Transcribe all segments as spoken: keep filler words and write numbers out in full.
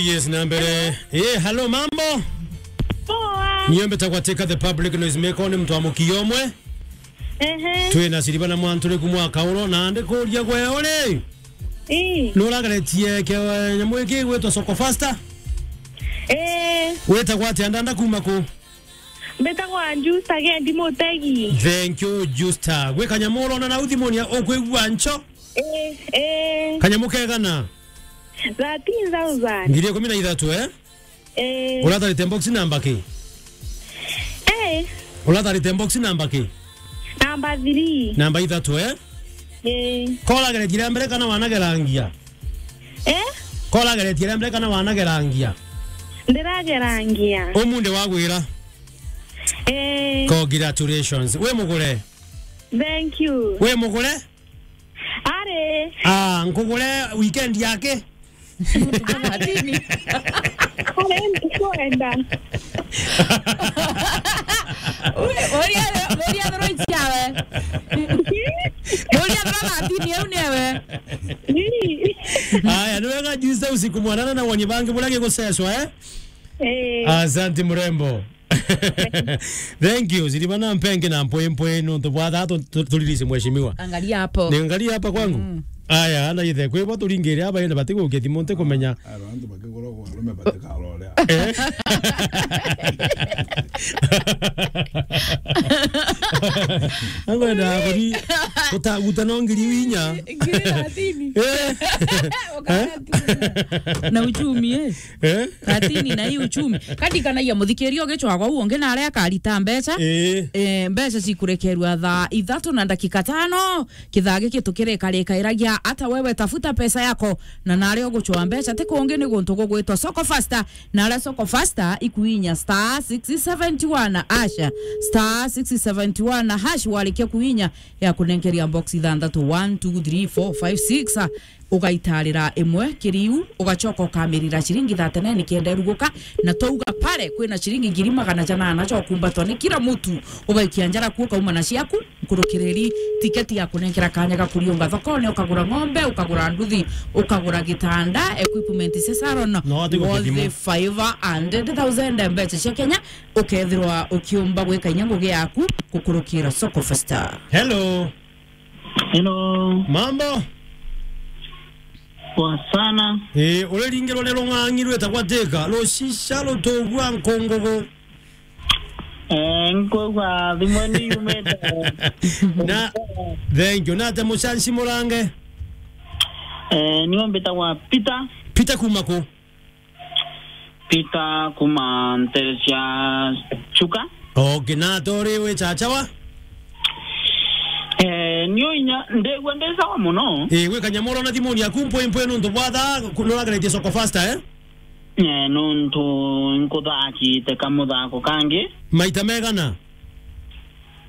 Yes, na mbere. Eh, hello, mambo? Poa. Niyo mbetagwa Teka the public noise maker, ni mtu wa mukio omwe. Ehe. Twina Siriba na Mwanturi kumwa Kauro, na ndikuria gwe uri? Ii. Nurageretie ke-, nyamu iki gwitwa Soko Faster? Eh. Witagwa atia ndanda kuma ku? Mbitagwa Justa Gendi Mutegi. Thank you, Justa. Gwi kanyamu urona nau thimuni ya ukwigua ncho? Eh, eh. Kanyamu kegana? Thirteen thousand. Ngiri ikumi na ithatu, eh? Eh. Uratarite box namba ki? Eh. Uratarite box namba ki? Namba three. Namba ithatu, eh? Eh. Korageretie ria mbere kana wanagerangia? Eh? Korageretie ria mbere kana wanagerangia? Ndiragerangia. Umunthi wagwira? Eh. Congratulations. Wi mugure? Thank you. Wi mugure? Ari. Ah, nkugure weekend yake? Ari, ndikwenda. Uri, uri, uri athoro ici yawe. Uri athoro matini, eu ni ewe. Ii. Aya, ni wega juice usiku mwanana na wonye bangi buria giguseswa, eh? Eh. Asante mrembo. Thank you. Siriba na mpenge na mpwe mpwe nontu bwa thaa tu-, tu-, turirisi mheshimiwa. Angalia hapo. Ni angalia hapa kwangu. Mm. Aya, ana ithe kwi bo turingire aba ende batigukia thimu nti kumenya. Aro antu bakigura kwa arume batikarore. Eh? Angwenda kuri utaguta no ngiri inya. Ngiri thirteen. Eh? Ukagatu. Na uchumi, eh? Eh? Thirteen na hii uchumi. Katikanagia muthikiria ugicwagwa u ungi na aria akarita mbeca. Eh. Eh, mbeca cikurekerua thaa ithatu na ndakika tano. Kithaa giki tukirikarikairagia ata wewe tafuta pesa yako na naria ugucwa mbeca ti kungi ni guntu gugwitwa Soko Faster. Na aria Soko Faster ikuinya star six seventy one hash. Star six seventy one hash warikia kuinya ya kunenkeria box ithanthatu, one, two, three, four, five, six. Ugaitarira imwe kiriu, ugacoka ukamirira ciringi thirty-nine kenda iruguka, na twauga pale kwina ciringi ngiri magana janana cia ukumbatwa ni kila mutu, ugaikia njara ku ukauma na ciaku, nkurukiriri tiketi ya kunenkera kanya ga kuriunga thokone, ukagura ng'ombe, ukagura nduthi, ukagura gitanda, equipment cia salon, no, ati guthima. Worth five hundred thousand mbeca cia Kenya, ukethirwa ukiumba gwika inya ngugi yaku gukurukira Soko Faster. Hello. Hello. Mambo? Poa sana. Eh, uriringirwa ni rung'ang'i rwitagwa Thika, rucica rutugua nkungugu. Eh, nkwigua thimu ni yumite. Na, thank you. Na ate mucanci murange? Eh, niwe mbitagwa Peter. Peter kuma ku? Peter kuma ntere cia Chuka. Okay, na tori wi chachawa? Eh, nio inya, ndigua ndi sawa muno. Eh, gwi kanyamu urona thimuni yaku mpwi mpwi nuntu bwa thaa, ku-, nurageretie Soko Faster, eh? Eh, nuntu nkuthakite kamuthako kangi. Maita megana?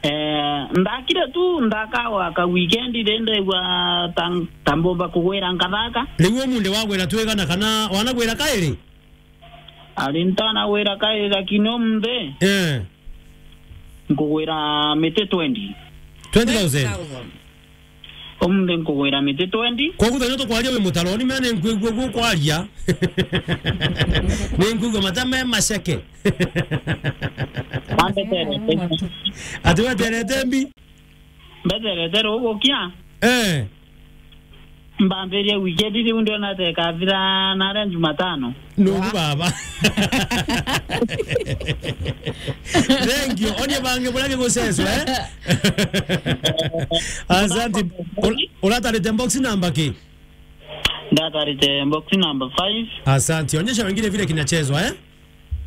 Eh, ndakire tu, ndakagwa ka weekend ri, ndaigua ta, ta mbumba kugwira nkathaka. Riu umunthi wagwira twigana kana wanagwira kairi? Ari ntanagwira kairi, lakini umunthi, eh, nkugwira miti twenty. Twenty thousand? Umunthi nkugwira miti twenty. Koguo thaa ino tukwaria wi mutaroni, me ni nkwigua guo kwaria. Ni nkwigua mata me maceke. Wambeterete. Ati weterete mbi? Mbeterete rugukia. Eh. Mbambirie weekend riu ndiona ta ikathira naria Jumatano. Nuru baba. Thank you. Onie bangi buria gigucecwa, eh? Asante. Ul-, uratarite box number ki? Ndatarite box number five. Asante. Onyesha wengine vile kinachezwa, eh?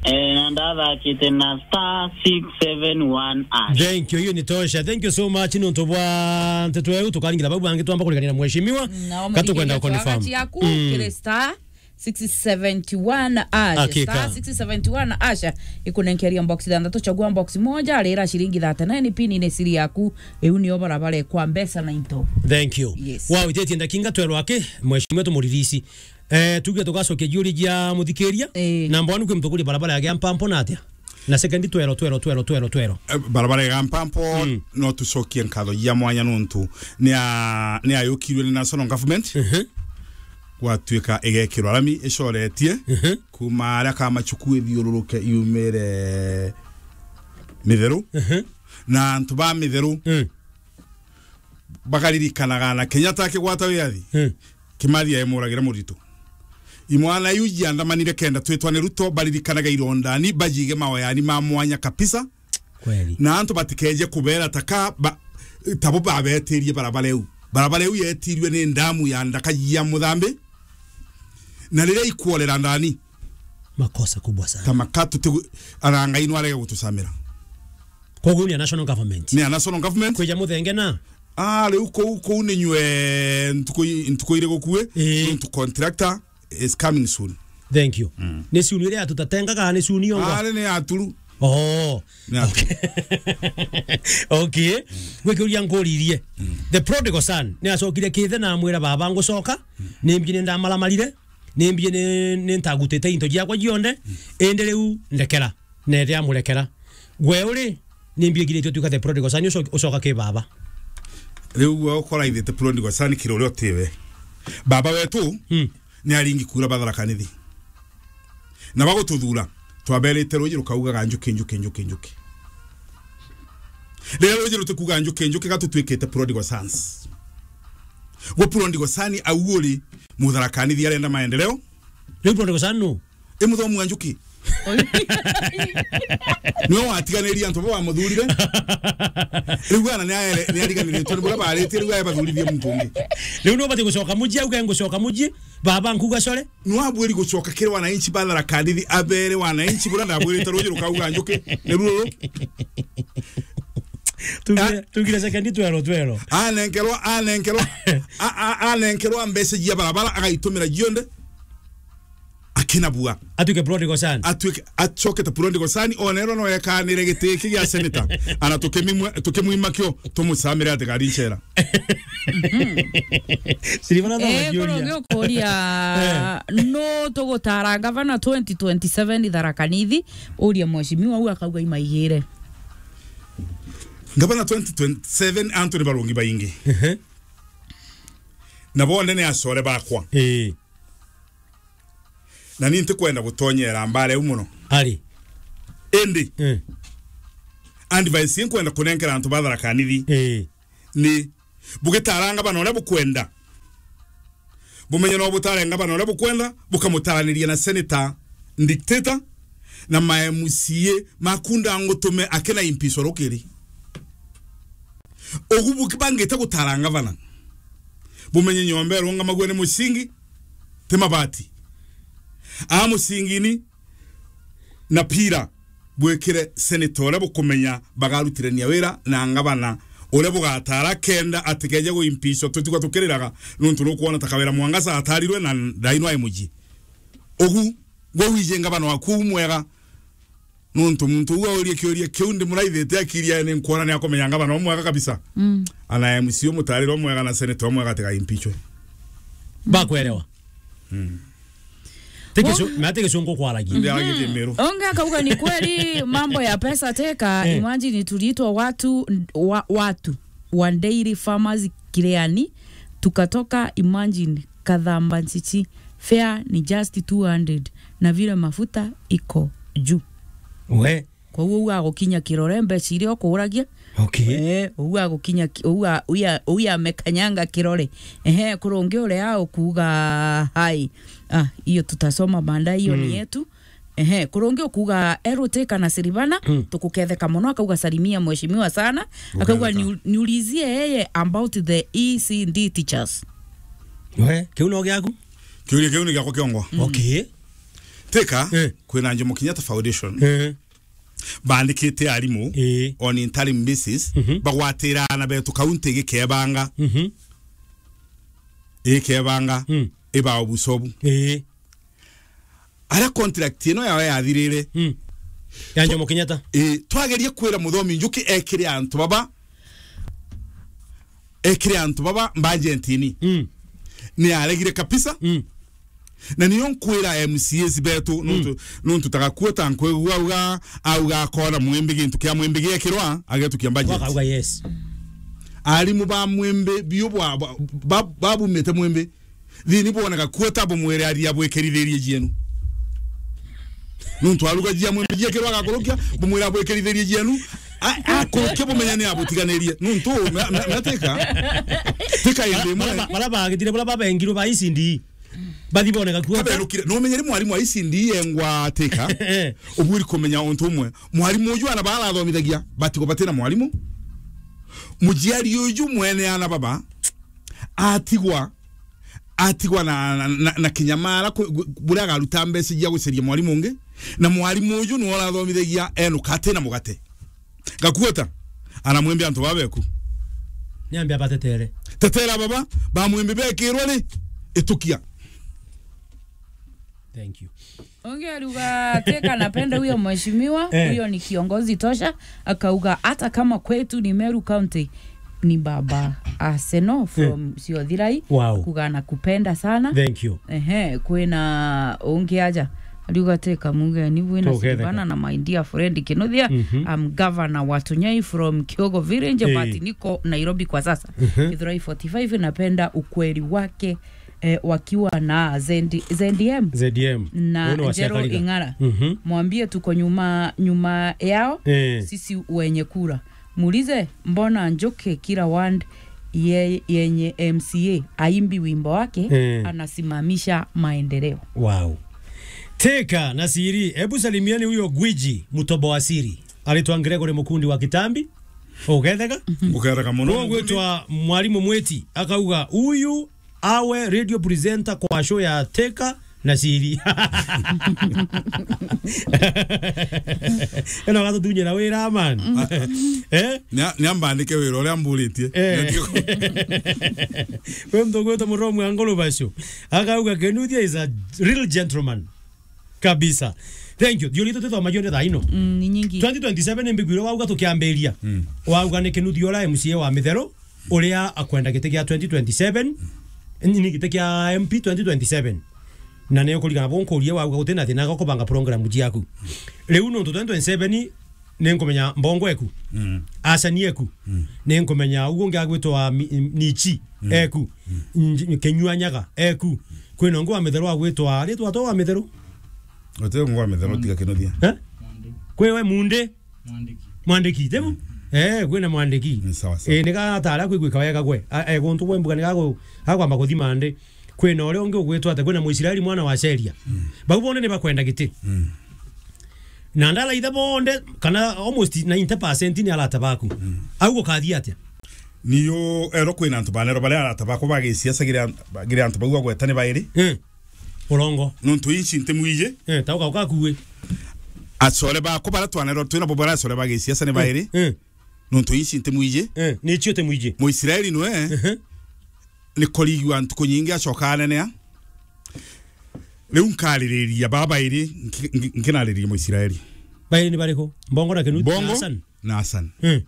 Eh, na ndathakite na star six seven one hash. Thank you, hiyo ni tosha. Thank you so much. Nontu bwa nteto yau tukaringira bau bangi twamba kuriganira mheshimiwa. Katukwenda confirm. Ciaku kiri star six seventy one hash. Hakika. Star six seventy one hash. Ikunenkeria box ithanthatu, chagua box moja, rira ciringi thirty-nine, pin ni siri yaku. Iu nio barabara kwa mbeca na into. Thank you. Yes. Wow, itetie ndakinga twerwa aki, mheshimiwa tumuririsi. Eh, tuge tugacokia jiuri jia muthikiria. Eh. Namba one kwi mutukuri barabara ya Giampampo na atia? Na second twero, twero, twero, twero, twero. Eh, barabara ya Giampampo, mm, no tucokie nkatho ya mwanya nontu ni a-, ni ayukirwe ni national government. Mhm. gwatuika igekirwa rami icoretie Mhm. kuma aria Kamachuku ithiururuke yumire Mitheru. Mhm. Na antu ba Mitheru Mm. bakaririkanaga na Kenyatta akigwata wiathi. Mm. Kimathi aimuragira Muritu. Imwana iu jianthamanire kenda twitwa ni Ruto, baririkanaga irondani, bajige maoyani ma mwanya kabisa. Kweli. Na antu batikeje kubera taka ba, tabo babetirie barabara iu. Barabara iu yetirwe ni ndamu ya ndaka ya Muthambi. Na riria ikuorera ndani. Makosa kubwa sana. Ta makatu tigu-, ara Ngai no arege gutucamira. Koguo ni a national government. Ni a national government. Kwija muthenge na? Ah, riu kou, kou ni nywe ntuku i-, ntuku iri gukue. Ii. Nontu contractor is coming soon. Thank you. Mm. Ni soon iria tutatengaga, ni soon yongo? Ah, ni aturu. Oh. Ni aturu. Okay. Okay. Gwikiuria nkuririe. Mm. The prodigal son ni acokire kithe na amwira, "Baba, ngucoka. Mm. Nimbi ni ndamaramarire. Nimbi ni, ni ntagutite into jiakwa jionthe. Mm. Indi riu ndekera." Neethia amurekera. Gwe uri, nimbi igiritie utuika the prodigal son, uco-, ucoka ki baba? Riu gwe ukora ithe the prodigal son kiri uria utiwe. Baba wetu Hmm. ni aringi kura ba Tharaka Nithi. Na bagututhura, twaberite ruji rukaugaga, "Njuki, njuki, njuki, njuki." Riria ruji rutikuga, "Njuki, njuki," gatutwikite prodigal sons. Gwe prodigal son au uri, Mutharaka Nithi arenda maendeleo. Riu prodigal son nu? I muthomu wa Njuki. Niwe watiganirie antu baba bamuthurire. Riu ana ni aere-, ni ariganiritwe ni buria baritie, riu ae bathurithie muntu ungi. Riu ni ubati gucoka muji, auge, "Ngucoka muji, baba nkuga core." Ni wabwiri gucoka kiri wananchi ba Tharaka Nithi, abere wananchi buria ndabwirite ruji rukauga Njuki. Ni ruru. Tugire, Ah. tugire second twero, twero. Anenkerwa, anenkerwa, a, a, anenkerwa mbeca cia barabara, agaitumira jionthe. Akina bua. Atuike prodigal son. Atuike, acokete prodigal son, onerwa no ekanire giti giki gia senator. Ana tukimimwe-, tukimwima kio, tumucamire atigari ncera. Siribana na Eh, makiuria. Koro ngikuria, Eh. no tugutara gavana twenty twenty-seven Tharaka Nithi, uria mheshimiwa au akauga imaigire. Gavana twenty twenty-seven antu ni barungi baingi. Ehe. Na bonde ni acore bakwa. Eh. Na ni ntikwenda gutonyera mbara iu muno. Ari. Indi, Eh. advice inkwenda kunenkera antu ba Tharaka Nithi Eh. ni, bugitara ngavana uria bukwenda, bumenye no butare ngavana uria bukwenda, bukamutaraniria na senator dictator na ma M C A maku ndangutume akina impiswa rukiri. Ugu buki-, bangite gutara ngavana, bumenye nyomba irungamagua ni mucingi, ti mabati. A mucingini na pira, bwikire senator uria bukumenya bagarutirania wira na ngavana uria bugatara kenda atikeje guimpishwa. Tutigwa tukiriraga nontu nukwona ta Kawira Mwangaza atarirwe na ndaino ai muji. Ugu, gwe wije ngavana waku uu mwega, nontu muntu uu aurie kiuria kiu ndimuraithite akiri yae, ni nkwona ni akumenya ngavana umwega kabisa. Mm. Ana M C umutarire umwega na senator umwega atigaimpichwe. Bakwerewa. Mm. Tiki Wo- su-, na tiki sungu kwaragia. Ndi aragithie Meru. Onge akauga ni kweli mambo ya pesa teka, Eh. imagine tuliitwa watu, wa-, watu wa dairy farmers Kireani, tukatoka, imagine, Kathamba Nchichi, fare ni just two hundred, na vile mafuta iko juu. We. Kwa hiyo, uga gukinya Kirore, mbeca iria ukuragia. Okay. Eh, uga gukinya ki-, uga, uya, uya amekanyanga Kirore. Ehe, kurungi uria ukuga hai. Ah, hiyo tutasoma baadaye, hiyo ni Mm. yetu. Ehe, kurungi ukuga Eruteka na Siribana, Mm. tukuketheka muno, akauga, "Salimia mheshimiwa sana." Akauga, Uketheka. "Niu-, niulizie yeye about the E C D teachers." We, kiu no giaku? Kiuria kiu ni giakwa kiongwa. Mm. Okay. Teka, Eh. kwina Jomo Kenyatta Foundation. Eh. Bandikite arimu Eh. on interim basis, Mhm. bagwatira ana betu kaunti igikebanga. Mhm. Igikebanga, Mm. ibao busobu. Eh. Aria contract ino yao yathirire. Mm. Ya Jomo Kenyatta. Eh, twagerie kwira Muthomi Njuki ekire antu baba, ekire antu baba budget ini. Mm. Ni aregire kabisa. Mm. Na niyo nkwira M C As betu, nontu, Mm. nontu tagakua ta nkwigua auga, auga akona Mwimbi gintu kia Mwimbi giekirwa, agetukia budget. Wakauga yes. Arimu ba Mwimbi, biu bwa, bwa, ba-, babumite Mwimbi. Thiini bwone Gakuota, bumwire aria bwikirithirie jienu. Nuntu aruga jia mwimbi jia kirwa agakurukia, bumwire abwikirithirie jienu. A-, akurukia bumenye ni abutiganirie. Nuntu me-, me-, me Thika. Thika indi imwe. Bara ba-, bara bagitire, bara babengirwe ba E C D. Bathi bone Gakuota. Kaberukire. Numenyere mwarimu wa E C D yengwa Thika. Eh. Ubwiri kumenya untu umwe. Mwarimu uju ana bara athomithagia, batigo batina mwarimu. Mujiari uju mwene ana baba, atigwa atigwa na, na, na, na kinyamara ku-, gu-, buria agaruta mbeca cia guceria mwarimu ungi, na mwarimu uju niwe urathomithagia enuka ati na mugate. Gakuota, anamwimbi antu babeku. Niambe abatetere. Tetera baba, bamwimbi bekirwe ri, itukia. Thank you. Ungi ariuga Thika, napenda huyo mheshimiwa, eh, huyo ni kiongozi tosha. Akauga hata kama kwetu ni Meru County, ni baba Arsenal from, eh, Siothirai. Wow. Kuga anakupenda sana. Thank you. Ehe, kwina ungi aja. Ariuga Thika muge ni bwina Tugetheka. Silvana na my dear friend Kinuthia. Mhm. I'm governor wa Tunyai from Kiogo Village, eh, but niko Nairobi kwa sasa. Mhm. Githurai forty-five, napenda ukweli wake, eh, wakiwa na Z-, Z M. Z M. Na Uno wa Njero Siakariga. Ing'ara. Mhm. Mwambie tuko nyuma, nyuma yao, eh, sisi wenye kura. Muulize, mbona Njuki kila ward ye-, yenye M C A aimbi wimbo wake, eh, anasimamisha maendeleo. Wow. Thika na siri, ebu salimieni huyo gwiji, mtoboa siri. Aritwa Gregory Mukundi wa Kitambi. Ugetheka? Ugetheka muno. Uguo gwitwa Mwalimu Mwiti, akauga, "Huyu awe radio presenter kwa show ya Thika na siri." Ena watu tunye na wira, man. Eh? Nia-, niambandike wira uria amburitie. Eh. We mtu gwitwa Muromu wa Ngulu Basho. Akauga, "Kinuthia is a real gentleman." Kabisa. Thank you. Thiori tutithomagia nde thaa ino. Mm, ni nyingi. Twenty twenty-seven ni mbigwire wauga tukiambiria. Mm. Wauga ni Kinuthia uria M C A wa Mitheru, uria akwenda giti gia twenty twenty-seven, ni giti kia M P twenty twenty-seven. Na ni ukurigana bo nkurie wauga guti na thina ga kubanga program ciaku. Riu nontu twenty twenty-seven ni nkumenya Mbongo eku. Mm. Asani eku. Mm. Ni nkumenya uguo ungi agwitwa Mi-, Nichi, mm, eku. Mm. Nj-, Kinyua Nyaga eku. Kwina ungi wa Mitheru agwitwa, ritwa to wa Mitheru? Uti ungi wa Mitheru tiga Kinuthia. Eh? Kwi we Munde? Mwandiki. Mwandiki, tibu? Mm. Eh, kwina Mwandiki. Ni sawa sawa. Eh, ni gatara kwigwika wega gwe. A, eh, guntu gwe mbuga ni gagu-, gakwamba kuthima ndi. Kwina uria ungi ugwitwa ata, kwina Muisraeli mwana wa Sheria. Mm. Bau bonde ni bakwenda giti. Mm. Na ndaraitha bonde, kana almost ninety percent ni arata baku. Mm. Au gukathia atia? Niyo ero kwina antu banero baria arata bakwa ba gisiasa giri an-, giri antu bau agweta ni bairi. Eh. Urongo. Nontu inci ntimwiji. Eh, tauka ukakuwe. Acore bakwa baria twanero twina bo baria acore ba gisiasa ni bairi. Eh. Nontu inci ntimwiji. Eh, ni cio timwiji. Muisraeli nwe. Ehe. Ni kurigua ntuku nyingi acoka anenea. Riu nkaririria baba iri nki-, nki-, nkinaririria Muisraeli. Bairi ni bariku? Mbongo na Kinuthia na Hassan? Mbongo na Hassan. Hmm.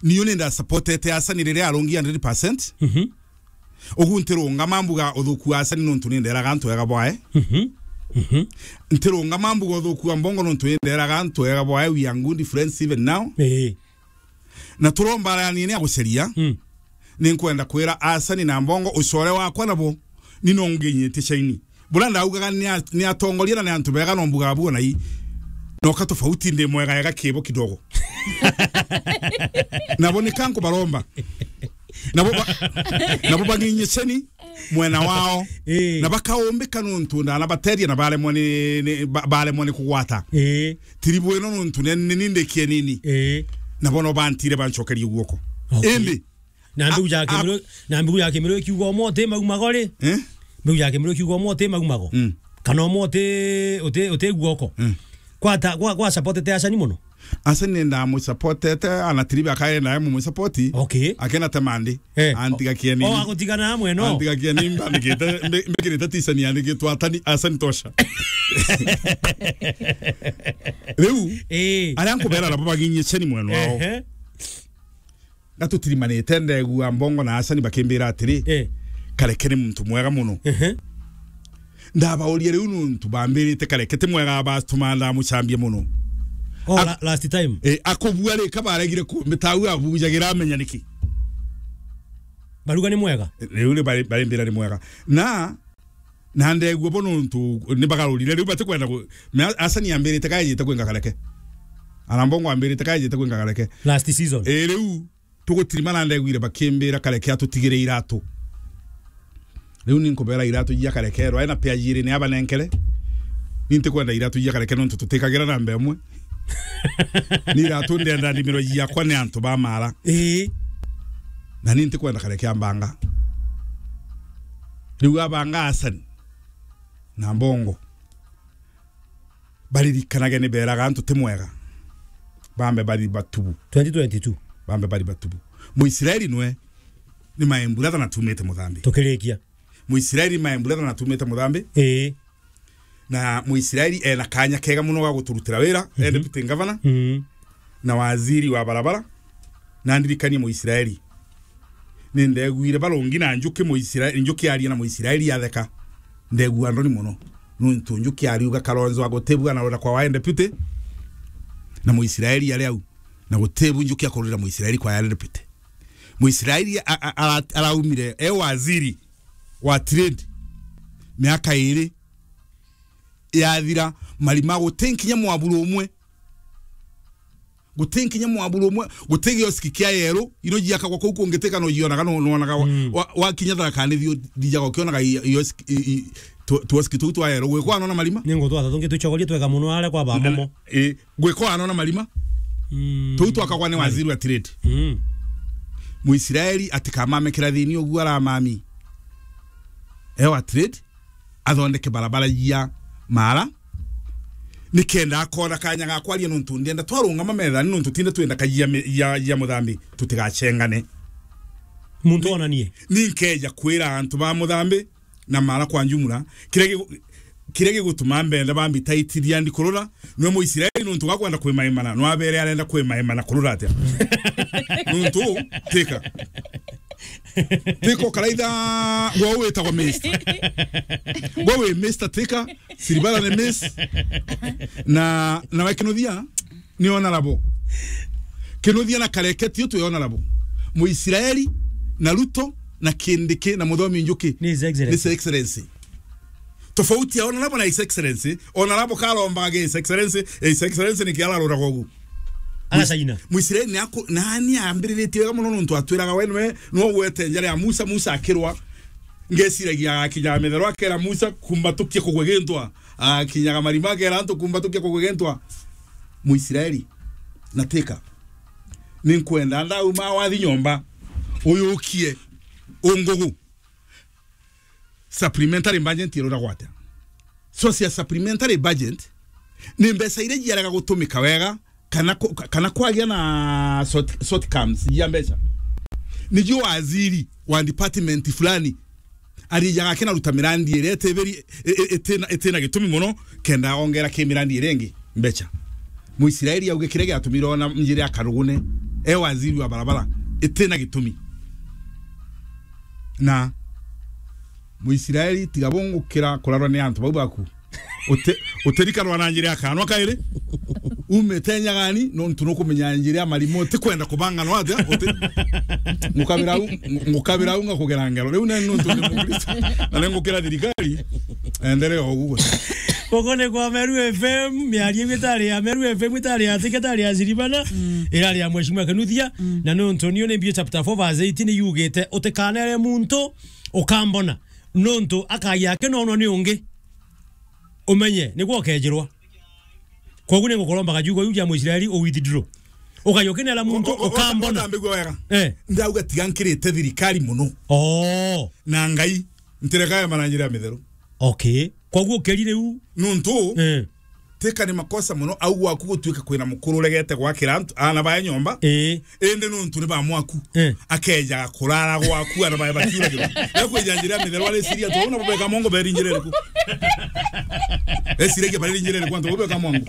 Niyo ni ndasupportete Hassan riria arungi hundred percent. Mhm. Ugu ntirungama mbuga uthuku wa Hassan nontu ni nderaga antu ega bwae. Mhm. Mhm. Ntirungama mbuga uthuku wa Mbongo nontu ni nderaga antu ega bwae. We are good friends even now. Ee. Na turomba arani ni aguceria. Mm. Ni nkwenda kwira Hassan na Mbongo ucore wakwa nabo. Ni no nginyitie caini. Bura ndaugaga ni a-, ni atongoria na ni antu bega no mbuga buo na i. No ka tofauti ndi mwega ega kibo kidogo. Nabo ni kanku baromba. Nabo ba-, nabo banginyicie ni mwena wao. Eh. Na bakaumbika nontu ndana bateria na baremwe ni, ni, ba-, baremwe ni kugwata. Eh. Tiri bwino nontu ni, ni, ni ndikie nini. Eh. Nabo no bantire bancokerie guoko. Okay. Indi, na mbiu ya a-, a-, Kimiru, na mbiu ya Kimiru ikiuga umwe uti maumago ri? Eh? Mbiu ya Kimiru ikiuga umwe uti maumago. Mm. Kana umwe uti, uti, uti guoko. Mm. Kwa ta, kwa, kwa supportete Hassan muno? Hassan ni ndamusupportete, ana tiribe akae nae mumusupport. Okay. Akena te mandi. Eh. Antiga kieni. O, agutigana amwe no. Antiga kieni mbandikite, mbi-, mbikirite tisani yandikitwe Hassan, Hassan tosha. Riu, eh, aria nkubera nabo baginyie ceni mwena wao. Ehe. Gatutirimanite ndegua Mbongo na Hassan bakimbira atiri, eh, Kareke ni muntu mwega muno. Ehe. Ndabauria riu nuntu bambirite Kareke ti mwega, batuma ndamucambia muno. Oh, ak-, la-, last time. Eh, akubua ri ka baregire ku-, mitau abujagira amenya niki. Baruga ni mwega. Riu ni bari, bari mbira ni mwega. Na, na ndegua bo nontu ni bagarurire. Riu batikwenda ku-, me a-, Hassan ambirite kaejite kwinga kareke. Arambongo ambirite kaejite kwinga kareke. Last season. Ii, riu tugutirima na ndegwire bakimbira kareke atutigire iratu. Riu ni nkubera iratu jia kareke, rwae na pea jiri ni abanenkere. Ni ntikwenda iratu jia kareke nontu tutikagira namba imwe. Ni iratu ndenda ndimiro jiakwa ni antu ba mara. Ii. Na ni ntikwenda kareke ambanga. Riu abanga Hassan na Mbongo. Baririkanage ni beraga antu ti mwega. Bambe bari batubu. Twenty twenty-two. Bambe bari batubu. Muisraeli nwe ni maemburatha na tumite muthambi. Tukirikia. Muisraeli maemburatha na tumite muthambi. Ii. Na Muisraeli ena kanya kega muno ga guturutira wira, mhm, e deputy governor, mhm, na waziri wa barabara, na ndirikanie Muisraeli. Ni ndegwire barungi na njuki Muisraeli, njuki aria na Muisraeli atheka. Ndegua ndoni muno. Nuntu njuki ariuga Kalonzo agutibua na rura kwa wa deputy, na Muisraeli ari au. Na gutibu njuki akururira Muisraeli kwa ya deputy. Muisraeli a-, a-, ara-, araumire e waziri wa trade miaka iri yathira, marima guti nkinya mwaburu umwe. Guti nkinya mwaburu umwe, guti gioski kia yeru, ino jiakagwa kuu kungi tika no jionaga, no, nonaga wa-, mm, wa-, wakinya Tharaka Nithi u-, thijaga ukionaga i-, ioski, i-, i-, tu-, tuoski tuu twa yeru. Gwikwa anona marima? Ni ngutwa tungi tuchogorie twega muno aria kwa ba Momo. Ii, gwikwa anona marima? Mm. Tuu twakagwa ni waziri wa trade. Mm. Muisraeli atikamame kirathini uguo aramami. Ewa trade. Athondeke barabara jia mara, nikenda akona kanya ga kwaria nontu ndienda twarungama methani nontu tinde twenda kajia me-, jia, jia muthambi tutigachengane. Muntu onanie. Ni nkeja kwira antu ba muthambi na mara kwa njumura, kiria gigu-, kiria gigutuma mbenda bambitaitithia ndikurura, nwe Muisraeli nontu gakwenda kwimaimana, nwabere arenda kwimaimana kurura atia? Nontu, tika. Tiko karaitha, gwa witagwa Mister. Gwa wi Mister Tika, Siribara ni Miss. Na, na we Kinuthia, ni honorable. Kinuthia na Kareke tio twi honorable. Muisraeli, na Ruto, na Kindiki, na Muthomi Njuki. Ni His Excellency. Ni His Excellency. Tofauti ya honorable na His Excellency, honorable karombaga His Excellency, His Excellency ni kiararuraga ugu. Agacaina. Muisraeli ni aku-, nani ambiriritie wega muno nontu atwiraga we nwe, nwe ugwete njara ya Musa, Musa akirwa. Ngeciragia agakinya mithero akera Musa, "Kumbatukia kugwe gintwa." Akinyaga marima akera antu, "Kumbatukia kugwe gintwa." Muisraeli, na Tika. Ni nkwenda ndauma wathi nyomba, uyukie ungugu. Supplementary budget iruragwa atia? Source ya supplementary budget ni mbeca iria jiarega gutumika wega kana ku-, ka-, kana kwagia na short, shortcomings ya mbeca. Nijo waziri wa department fulani arijaga akinaruta mirandi iria itibiri, i-, i-, itina, itina gitumi muno kenda ongera ki mirandi iria ingi mbeca. Muisraeli auge kiria giatumire ona njira ya Karugune, e waziri wa barabara, itina gitumi. Na Muisraeli, tiga bungukira kurarwa ni antu bau baku. Uti-, utirikanwa na njira ya kanwa kairi. Umite nyagani, nontu nukumenya njira ya marimo, utikwenda kubanganwa atia, uti-, ngukabira u-, ngukabira u ngakugera ngero. Riu ni nontu ni Mukristo, na ni ngukira thirikari, enderea uguo. Guku ni kwa Meru F M, miario iu itari ya Meru F M, itari ya Tika, itari ya Siribana, mm, irari ya Mheshimiwa Kinuthia, mm, na nontu niyo ni Mbio chapter four verse eighteen yugite, "Utikanere muntu ukambona, nontu akagia akinonwa ni ungi. Umenye, niguo ukejirwa." Koguo ni ngukuromba kajugo iu ja Muisraeli u withdraw. Ukagia ukinera muntu, o-, o-, o-, ukambona. Utambigua wega. Eh. Ndauga tiga nkirite thirikari muno. Oh. Na Ngai, ntirekaga mananjira ya mitheru. Okay. Koguo ukeri riu. Nuntu, eh, Tika ni makosa muno, au gwaku gutuika kwina mukuru uregete gwakira antu, ana bae nyomba. Eh. Indi nuntu ni ba mwaku. Eh. Akeja kurara gwaku, ana bae bakiuragirwa. Yakweja njira ya mitheru, areciria tu, "Una bubeka mongo beri njira iriku?" Eciragia bari njira iriku, antu bubeka mongo.